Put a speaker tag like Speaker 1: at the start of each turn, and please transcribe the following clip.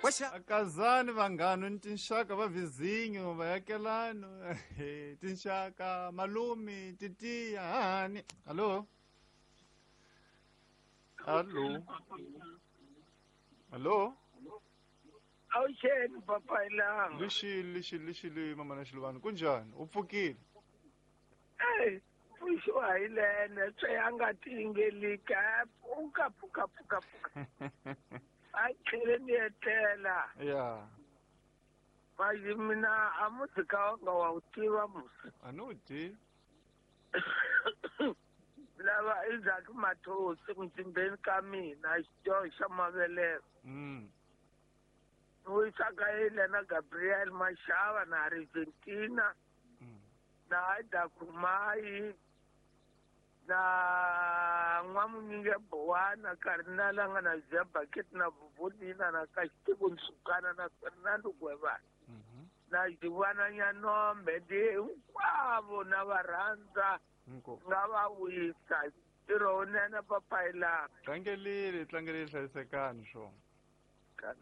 Speaker 1: Akazani vanghana ni tinxaka va vizinyo vayakelano tinxaka malume titiya hahani. Hallo, hallo, hallo.
Speaker 2: Awuxeni papailanga.
Speaker 1: Lixile, lixile, lixile mama na Xiluvani, kunjhani? U pfukile?
Speaker 2: Ey, pfuxiwa hi lene swe a nga tingelika pfuka pfuka pfuka pfuka. A tlhele ni etlela.
Speaker 1: Ya.
Speaker 2: Manje mina a muzika wanga wa wu tiva musi.
Speaker 1: A ni wu tivi.
Speaker 2: Lava Isaac Mathosi mzimbeni ka mina xidyoho xa mavelelo. Ni wisaka yile na Gabriel Mashava na Argentina na Aida Khumayi na N'wamunyinge Bowana Cardinal a nga na Zia Bucket na Vuvulina na Kaxitiku Nsukana na Fernando Gwevana na Jivana Nyanombe ndi hinkwavo na va rhandza nga va wisa ntirho wunene papayilanga.
Speaker 1: Tlangelile, tlangelile, hlayisekani swona.